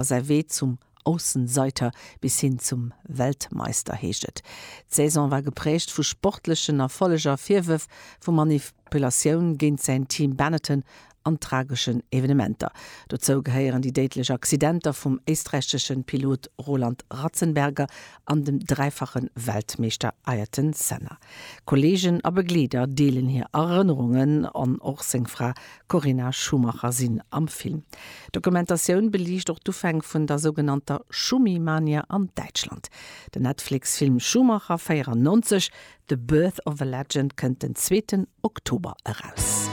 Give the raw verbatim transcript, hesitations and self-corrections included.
Säi Wee zum Aussenseiter bis hin zum Weltmeister heescht et. D'Saison war geprägt vu sportlechen Erfolleger, Virwërf vu Manipulatioun géint säin Team Benetton an trageschen Evenementer. Dozou gehéieren déi déidlech Accidenter vum éisträichesche Pilot Roland Ratzenberger an dem dräifache Weltmeeschter Ayrton Senna. Kolleegen a Begleeder deelen hir Erënnerungen an och seng Fra Corinna Schumacher sinn am Film. D'Dokumentatioun beliicht och d'Ufäng vun der sougenannter Schumi-Mania an Däitschland. Den Netflix-Film Schumacher véierennonzeg, The Birth of a Legend kënnt den zweeten Oktober eraus.